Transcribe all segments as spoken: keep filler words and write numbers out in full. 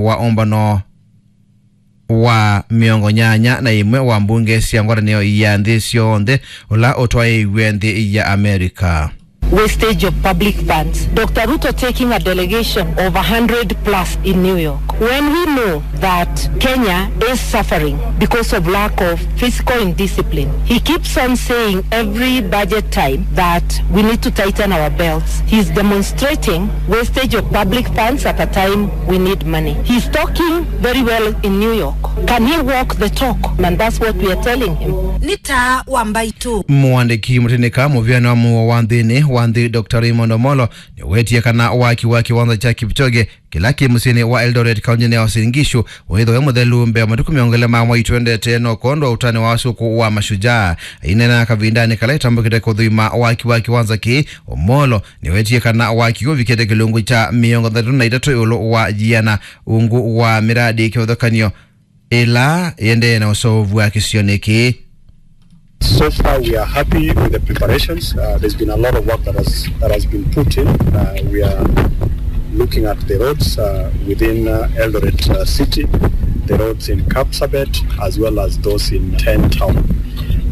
wa ũmbano wa mĩongo nyanya na ĩmwe wa mbunge sya ngwatanĩo ya nthĩ syonthe ũla ũtwaĩĩw'e nthĩ ya Amerika. Wastage of public funds. Doctor Ruto taking a delegation of a hundred plus in New York. When we know that Kenya is suffering because of lack of fiscal indiscipline, he keeps on saying every budget time that we need to tighten our belts. He's demonstrating wastage of public funds at a time we need money. He's talking very well in New York. Can he walk the talk? And that's what we are telling him. Nĩ taa wa mbaitũ. Mũandĩki mũtĩnĩka mũvĩanĩ wa mũuo wa nthĩnĩ wa nthĩ, Doctor Raymond Omolo, nĩwetie kana waki wa kĩwanza kya Kipchoge kĩla kĩ mũsyĩnĩ wa Eldoret, kaũntĩnĩ ya Uasin Gishu, wĩthĩwe mũthelu mbee wa matukũ mĩongo ĩlĩ ma mwai twendete, no kwondũ wa ũtanu wa ũsukũ wa Mashujaa. Aineena kavindanĩ kala ĩtambũkĩte kũthũima waki wa kĩwanza kĩĩ, Omolo nĩwetie kana waki ũvikĩte kĩlungu kya mĩongo thanthatũ na itatũ ĩũlũ wa yiana ungu wa mĩradi kĩvathũkany'o ĩla ĩendee na ũseũvw'a kĩsionĩ kĩĩ. So far, we are happy with the preparations. Uh, there's been a lot of work that has, that has been put in. Uh, we are looking at the roads, uh, within, uh, Eldoret, uh, city, the roads in Kapsabet, as well as those in Ten Town.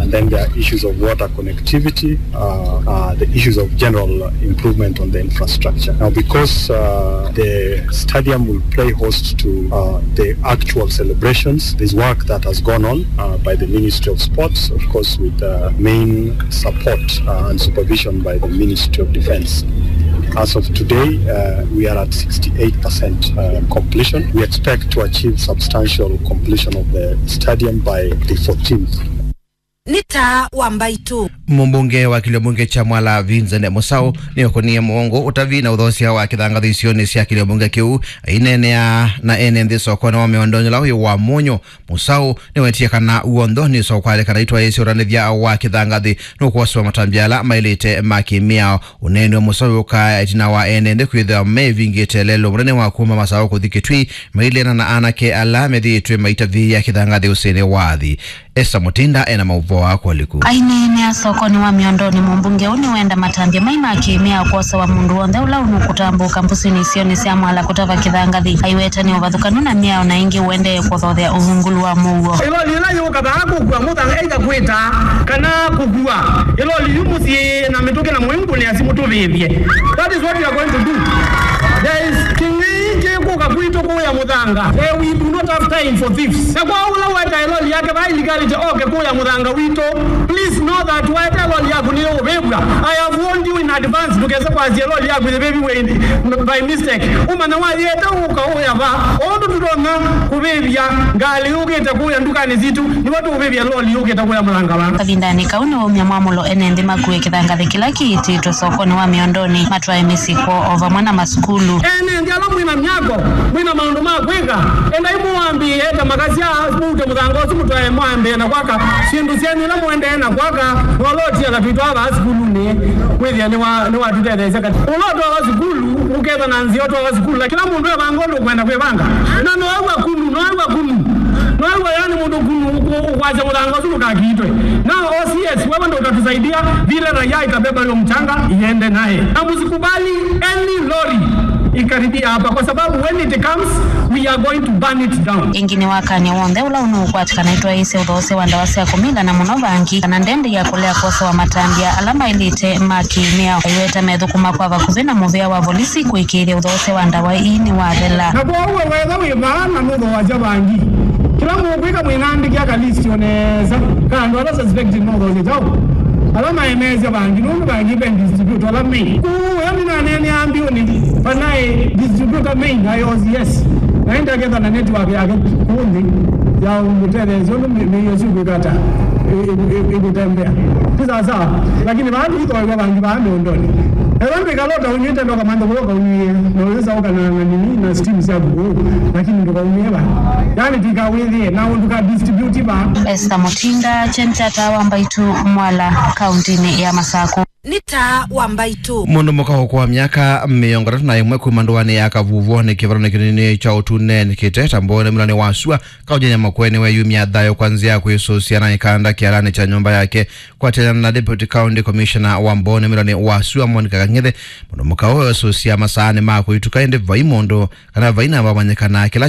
And then there are issues of water connectivity, uh, uh, the issues of general improvement on the infrastructure. Now, because, uh, the stadium will play host to, uh, the actual celebrations, there's work that has gone on, uh, by the Ministry of Sports, of course, with, uh, main support, uh, and supervision by the Ministry of Defense. As of today, uh, we are at sixty-eight percent, uh, completion. We expect to achieve substantial completion of the stadium by the fourteenth. Nĩ taa wa mbaitũ. Mũmbunge wa kĩlio mbunge kya Mwala, Vincent Mũsaũ, nĩũkũnie mũongo ũtavi na ũthoosya wa kĩthangathĩ isionĩ sya kĩlio mbunge kĩu. Aineenea na ene nthĩ sokonĩ wa Mĩondonĩ ũla wĩ wa Mũnyũ, Mũsaũ nĩwetie kana w'onthe nĩsokwaĩle kana itwaĩĩsya ũtanĩthya wa kĩthangathĩ nũkwosewa matambya ala maĩlĩte ma kĩmĩao. Ũneeni wa Mũsaũ wĩũkaa ĩtina wa ene nthĩ kwĩthĩwa meĩvingĩte lelũ mũnene wa kuma Masaũ kũthi Kĩtui, mailĩana na anake ala methĩĩtwe maitavĩĩa kĩthangathĩ ũsĩnĩ wa athi. Esther Mutinda ena maũvoo aa kwoliku. Aineenea sokonĩ wa Mĩondonĩ, mũmbunge ũũ nĩwenda matambya mai ma kĩmĩao kwosewa mũndũ w'onthe ũla ũnũkũtambũka mbũsĩnĩ isionĩ sya Mwala kũtava kĩthangathĩ. Aiweta nĩ ũvathũkanu na mĩao na ĩngĩ ũendee kũthothea ũvungũlu wa mũuo. Ĩloli ĩla yũka vaa kũkua mũthanga ĩkakwĩta kana kũkua ĩloli yu mũsyĩ na mĩtũkĩ na mũingũnĩa simũ tũvĩvye. That is what we are going to do. There is kĩng'ei kĩkũka kwitũ kũya mũthanga. Eh, we do not have time for thieves. Na kwa ũla weta ĩloli yake vaa ĩlegality oke kũya mũthanga witũ, please know that weta ĩloli yaku nĩyũvĩvw'a. I have warned you in advance, ndũkese kwasya ĩloli yaku yĩvĩviwe in, by mistake. Ũmanya wayĩete ũka ũya vaa. Ũndũ tũtonya kũvĩvya ngalĩ yũkĩte kũya ndukanĩ sitũ, nĩvo tũũvĩvya ĩloli yũkĩte kũya mũthanga vaa. Kavindanĩ kau nĩwaumya mwamũlo ene nthĩ makue kĩthangathĩ kĩla kĩitĩtwe sokonĩ wa Mĩondonĩ matwae mĩsyĩ kwoo o vamwe na masukulu. Ene nthĩ ala mwĩ na myako, mwĩ na maũndũ ma kwĩka, endai mũwambĩĩe ta makasya, mũute mũthanga ũsu mũtwae mwambĩĩe na kwaka syĩndũ syenyu ila mũendee na kwaka, na ũla ũtiala twĩtwaa vaa sukulunĩ, wĩthĩa nĩwa-, nĩwatũtetheesya katĩ. Ũla ũtwawa sukulu, ũketha na nzĩa ũtwawa sukulu, lakini kĩla mũndũ evanga ũndũ ũkwenda kwĩvanga. Na noew'a kunu, noew'a kunu, noew'a yani mũndũ kunu ũkũ-, ũkwasya mũthanga ũsu ndũkakiitwe. Na O C S, wewe ndo utatusaidia vile raia itabeba hiyo mchanga iende naye. Na msikubali any lorry ikaribia hapa, kwa sababu when it comes, we are going to burn it down. Ĩngĩ nĩwakany'a w'onthe ũla ũnũũkwatĩkana itwaĩĩsye ũthoosya wa ndawa sya kũmila na mũno vangi kana ndendi ya kũlea kwosewa matambya ala maĩlĩte ma kĩmĩao. Aiweta methũkũma kwa vakuvĩ na mũvĩa wa volisi kũĩkĩĩthya ũthoosya wa ndawa ii nĩwathela. Na kwoou we wetha wĩ vaa na nũthoosya vangi, kĩla mũkwĩka mwĩnandĩkĩa ka list o nesa ka andũ ala suspected nũthoosya kyaũ. Ala maemeesya vangi, nũndũ vangi ve distributor ala main. Kũu ĩyo nĩnaneenea mbiũnĩ, vanaĩ distributor main, I O C S. Na ĩndaketha na network yake kũũ nthĩ ya ũmũtetheesya ũndũ mĩ-, mĩio syũkwĩka ata, ĩ-, ĩ-, ĩ-, ĩkũtembea. Ti sawa sawa. Lakini vaa ndũithoewa vangi vaa mĩũndonĩ. Ethwa ndwĩkala ũtaũnyw'ĩte ndoka mantha kũla ũkaũnyw'ĩe, na ũyĩsa ũkana na nini na steam syaku kũu, lakini ndũkaũnyw'ĩe vaa. Yani, tũikawĩthĩe na ũndũ ka distribute vaa. Esther Mutinda, Chenchata wa Mbaitu, Mwala, kauntinĩ ya Masakũ. Nĩ taa wa mbaitũ. Mũndũ mũka ũkũa myaka mĩongo ĩtatũ na ĩmwe kuma ndũanĩ ya Kavuvoni kĩvalonĩ kĩnini kya Ũtune nĩkĩte Tamboni mũlanĩ wa sua kaũnjĩnĩ Makueni weyumya thayũ kwa nzĩa ya kwĩsũsya na ĩkanda kĩalanĩ kya nyũmba yake. Kwatĩana na Deputy County Commissioner wa Mboni mũlanĩ wa sua Monica Kang'ethe, mũndũ mũka ũũ esũsya masaanĩ ma kũituka ĩndĩ vai mũndũ kana vai namba wamanyĩkana kĩla